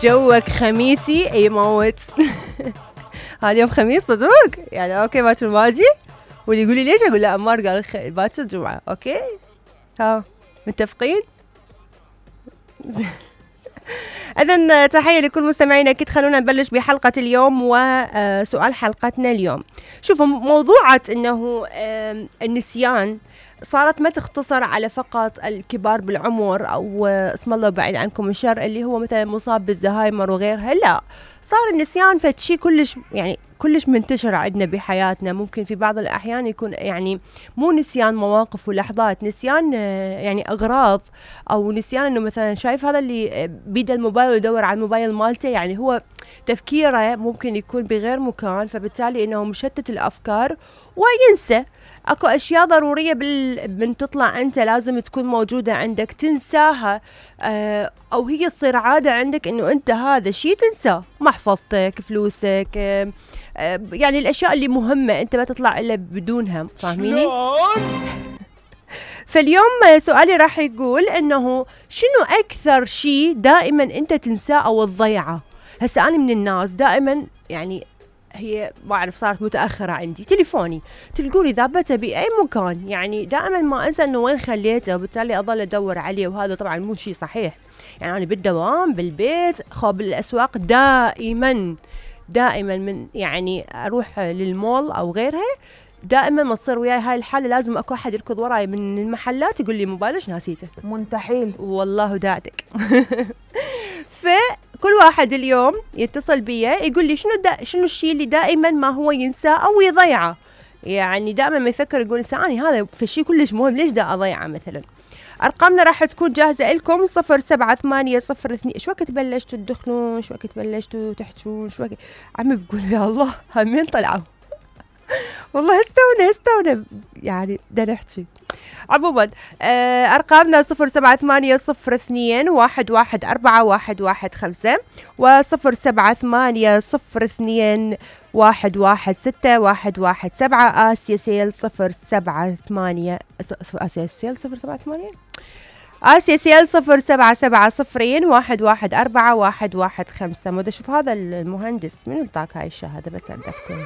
جوك خميسي يموت. هذا يوم خميس صدق يعني. اوكي باكر باجي، واللي يقول لي ليش اقول له امار قال باكر جمعه. اوكي ها متفقين. إذن تحية لكل مستمعينا. أكيد خلونا نبلش بحلقة اليوم وسؤال حلقتنا اليوم. شوفوا موضوعة إنه النسيان صارت ما تختصر على فقط الكبار بالعمر أو اسم الله بعيد عنكم الشر اللي هو مثلا مصاب بالزهايمر وغيرها، لا، صار النسيان فشي كلش منتشر عندنا بحياتنا. ممكن في بعض الأحيان يكون يعني مو نسيان مواقف ولحظات، نسيان يعني أغراض، أو نسيان إنه مثلا شايف هذا اللي بيد الموبايل ويدور على الموبايل مالته، يعني هو تفكيره ممكن يكون بغير مكان، فبالتالي إنه مشتت الأفكار وينسى. اكو اشياء ضروريه من تطلع انت لازم تكون موجوده عندك تنساها، او هي تصير عاده عندك انه انت هذا الشيء تنساه، محفظتك، فلوسك، يعني الاشياء اللي مهمه انت ما تطلع الا بدونها. فاهميني؟ فاليوم سؤالي راح يقول انه شنو اكثر شيء دائما انت تنساه او تضيعه؟ هسه انا من الناس دائما يعني هي ما أعرف صارت متأخرة عندي تليفوني، تلقوني ذابته بأي مكان، يعني دائما ما أنسى إنه وين خليته، وبالتالي أظل أدور عليه، وهذا طبعا مو شيء صحيح. يعني أنا بالدوام بالبيت بالأسواق دائما من يعني أروح للمول أو غيرها، دائما ما تصير وياي هاي الحالة لازم أكو أحد يركض وراي من المحلات يقول لي موبايلش ناسيته. منتحيل والله داعتك. فكل واحد اليوم يتصل بيا يقول لي شنو الشيء اللي دائما ما هو ينساه او يضيعه، يعني دائما ما يفكر يقول ثاني هذا في شيء كلش مهم ليش دا اضيعه مثلا. ارقامنا راح تكون جاهزه لكم 07802. شو وقت بلشتوا تدخنون؟ شو وقت بلشتوا تحجون؟ شو وقت عمي بقول يا الله همين طلعوا. والله هستونا يعني بدنا نحكي. عموما أرقامنا 07802114115 و07802116117 آسيا سيل 078 آسيا سيل 078 آسيا سيل 07701141115. مودي أشوف هذا المهندس من انطاك هاي الشهادة بس عندفتين.